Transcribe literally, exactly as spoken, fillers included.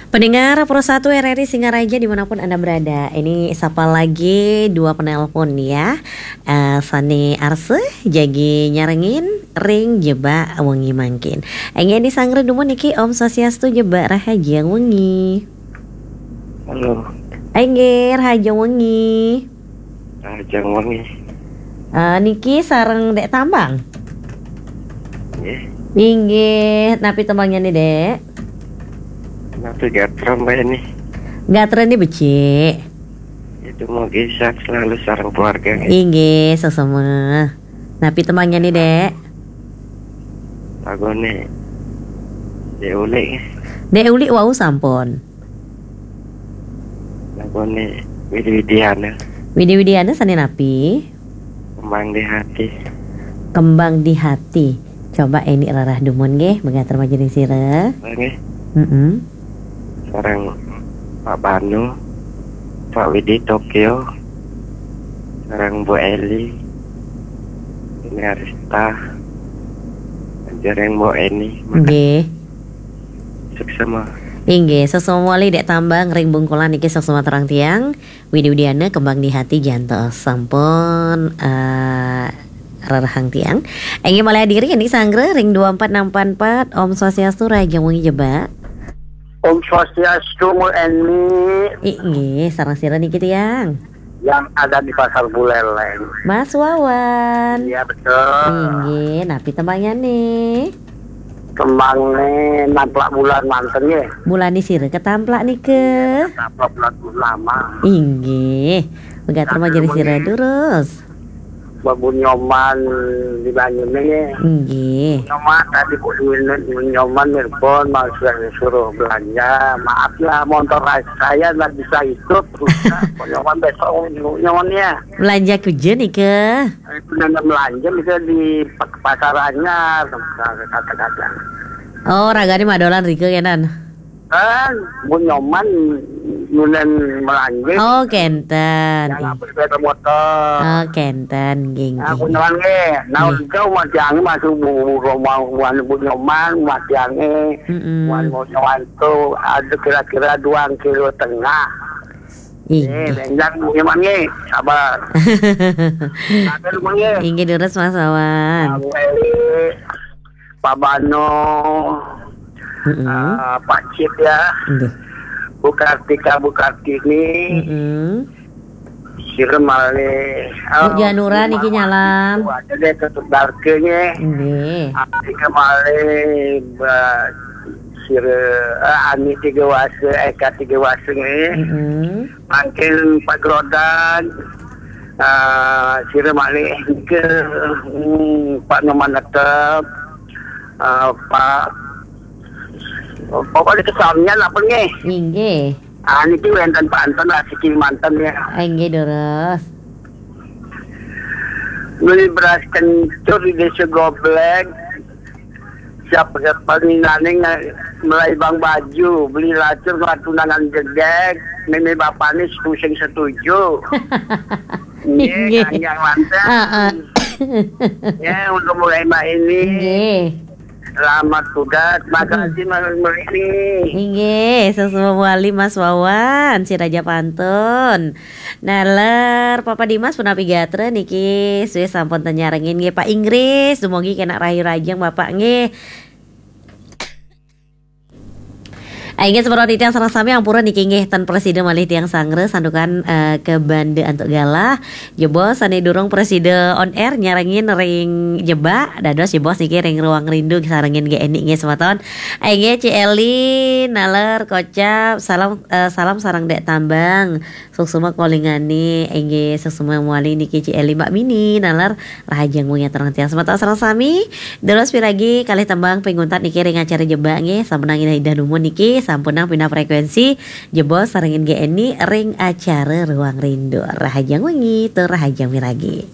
Pendengar Pro satu R R I Singaraja dimanapun Anda berada, ini sapa lagi dua penelpon ya. Eh, Sani Arse, jagi nyarengin, ring jebak wengi mangkin. Enggih, Andi Sangre dumun niki, Om Swastiastu, jebak rahajeng wengi. Halo. Enggih, rahajeng wengi. Rahajeng wengi. Eh, niki sareng Dek Tambang? Nggih. Inggih, napi tembangnya nih, Dek? Napi gatra, Mbak, ini? Gatra nih becik. Itu mau sehat selalu sareng keluarga, nggih. Inggih, sesama. Napi tembangnya nih, Dek? Lagune Dek Ulik, nggih. Dek Ulik wau sampun. Lagune Widi Widiana. Widi Widiana sane napi? Kembang di Hati. Kembang di Hati. Coba ini rarah dumun nggih, megater majeng sira. Nggih. Mm-mm. Sareng Pak Banu, Pak Widi Tokyo, sareng Bu Eli, ini Arista, sareng Bu Eni. Nggih. Suksma. Inggih, sesama wali Dek Tambang ring Bungkulan niki, suksma terang tiang. Widi Widiana, Kembang di Hati, jantos sampun, eh, rerehang tiang. Inggih, malih diri ini Sanggra ring dua empat enam empat empat. Om Swastiastu, rahajeng wengi jebak. Om Swastiastu, Bu Eni. Inggih, sareng sira niki tiang? Yang ada di Pasar Buleleng. Mas Wawan. Iya, betul. Inggih, napi tembangnya nih? Tembangnya Namplak Bulan manten nggih. Bulan sira ketamplak nika? Ketamplak bulan purnama. Inggih. Megater majeng sira durus. Babu Nyoman di Banyune nggih. Inggih. Nyoman tadi kok duwene Nyoman nelpon, mau suruh, suruh belanja. Maaf ya, motor saya nggak bisa ikut. Rusak. Kok Nyoman besok Nyoman ya. Belanja kujen nika? Itu nang belanja bisa di pa-, Pasar Anyar, kata-kata. Oh, ragane madolan rika kenan. Kan, Bu Nyoman nulen belanja. Oh, kenten. Yang apa sepeda motor. Oh, kenten, nggih, nggih. Aku nyelan nggih. Nah, nggih. Jauh matiange masuk Bu, Bu Nyoman, matiange. Mm-mm. Wan Bu Nyoman tuh ada kira-kira dua kilo tengah. Inggih. Eh, benjang, Bu Nyoman, nggih. Sabar. Sabar, Bu, nggih. Inggih, durus, Mas Wawan. Nah, Bu Eli, Pak Bano, mm-mm, eh, Pak Cip, ya. Inggih. Bu Kartika, Bu Kartini. Mm-mm. Sira malih, Bu Janura niki nyalam. Ada deh, tutup darke, nggih. Inggih. Kartika malih, Mbak Sira, eh, Ani Tiga Wasa, Eka Tiga Wasa, nggih. Mm-mm. Mangkin Pak Grodan, eh, sira malih niki, hmm, Pak Nyoman Netep, eh, Pak, pokoknya kesamnya lah pun nggih. Inggih. Ah, niki wenten pantun lah siki manten ya. Inggih, durus. Beli beras kencur di Desa Goblek. Siapa, siapa paling nane nge-, melai bang baju, beli lacur ngelah tunangan gedek, meme bapakne pusing setuju. Nggih, inggih. Kang Yang mantap. Heeh. Ya, untuk mulai Mbak ini. Nggih. Selamat tugas, makasih, mm-mm, Mas Mbak ini. Inggih, sesama wali Mas Wawan, si Raja Pantun. Naler, Papa Dimas punapi gatra niki, suwis sampun ten nyarengin nggih, Pak Inggris, dumugi kenak rahayu rahajeng Bapak nggih. Inggih, semeton titiang sareng sami ampura niki nggih, ten prasida malih tiang sanggra santukan, eh, ke Banda antuk galah. Jebos sane durung prasida on air nyarengin ring jebak, dados jebos niki ring Ruang Rindu sarengin G N I nggih semeton. Inggih, Ci Eli, naler kocap, salam, eh, salam sareng Dek Tambang. Suksma kolingane, inggih, suksma mawali niki Ci Eli, Mbak Mini, naler rahajeng wengi terang tiang semeton sareng sami. Dados piragi kalih tembang pinguntat niki ring acara jebak nggih, sampunang indah dumun niki, sampunang pindah frekuensi, jebos sarengin G N I ring acara Ruang Rindu. Rahajeng wengi, tur rahajeng wiragi.